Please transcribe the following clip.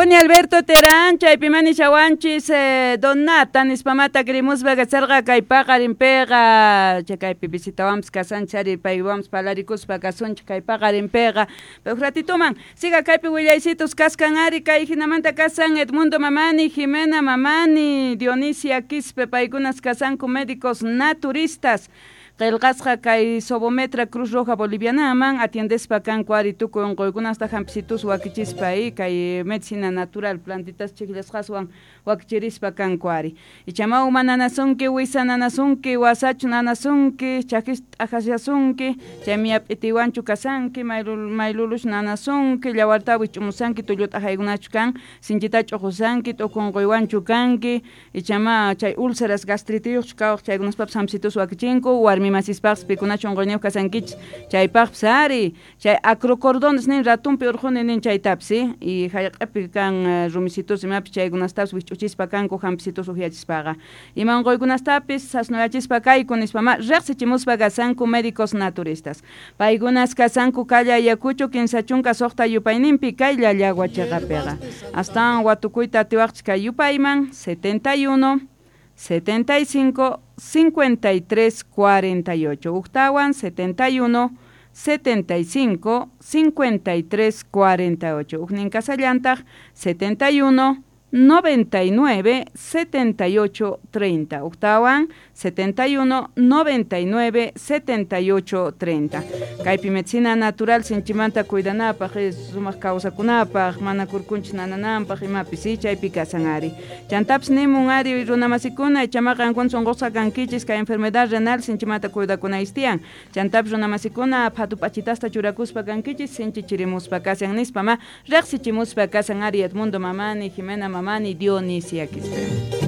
Bueno, Alberto Terán, chaypi manishawanchis Donata nispamata krimuspa kasarqa kay paqarinpiqa, chay kaypi visitawanpas kasanchis ari paywanpas palarikuspa kasunchik kay paqarinpiqa. Pero ratituman siga kaypi willaysitos kaskan ari kay hinamanta kasan Edmundo Mamani, Jimena Mamani, Dionisia Quispe, paykunas kasanku médicos naturistas. Qillqasqa kay Sobometra Cruz Roja Bolivianaman atiendespa kanku ari tukuy unquykunasta hampisitus wakichispa y kay medicina natural plantitas chiqllasqaswan wakichirispa kanku ari. Ichama uma nanasunki, wisa nanasunki, wasachu nanasunki, chakis t'aqasyasunki, chaymi p'itiwanchu kasanki, maylulush nanasunki, llawarta wich'umusanki, tullu t'aqaykunachu kan, sinchita ch'uqusanki, t'uku unquywanchu kanki, ichama chay úlceras gastritiyuqchu kawaq chaykunaspapis hampisitus wakichinku, warmi masispaqpas pikunachu unquyniyuq kasankichis chaypaqpis ari, chay acrocordones nin ratumpi urquni nin chaytapis y hallq'api kan rumisitus imapis chaykunastapis wich'uchispa kanku hampisitus uhyachispaqa. Ima unquykunastapis sasnuyachispa kayku nispama riqsichimuspa kasanku médicos naturistas. Paykunas kasanku calle Ayacucho 36 yupayninpi kay Llallagua chiqapiqa. Astawan watukuyta atiwaqchik kay yupayman 71 75 53 48. Uktawan 71 75 53 48. Uknin kasallantaq 71 99 78 30. Uktawan 71 99 78 30. Kaypi medicina natural sinchimanta cuidanapaq, sumaq kawsakunapaq, mana kurkunchis nanananpaq imapis chaypi kasan ari. Chantapis nimun ari runamasikuna ichama qankuna sunqusqa kankichis kay enfermedad renal sinchimanta cuidakunayis tiyan. Chantapis runamasikuna phatu p'achitasta churakuspa kankichis sinchi chirimuspa kasan nispa ma riqsichimuspa kasan ari Edmundo Mamani, Jimena Mamani, Dionisia Quispe.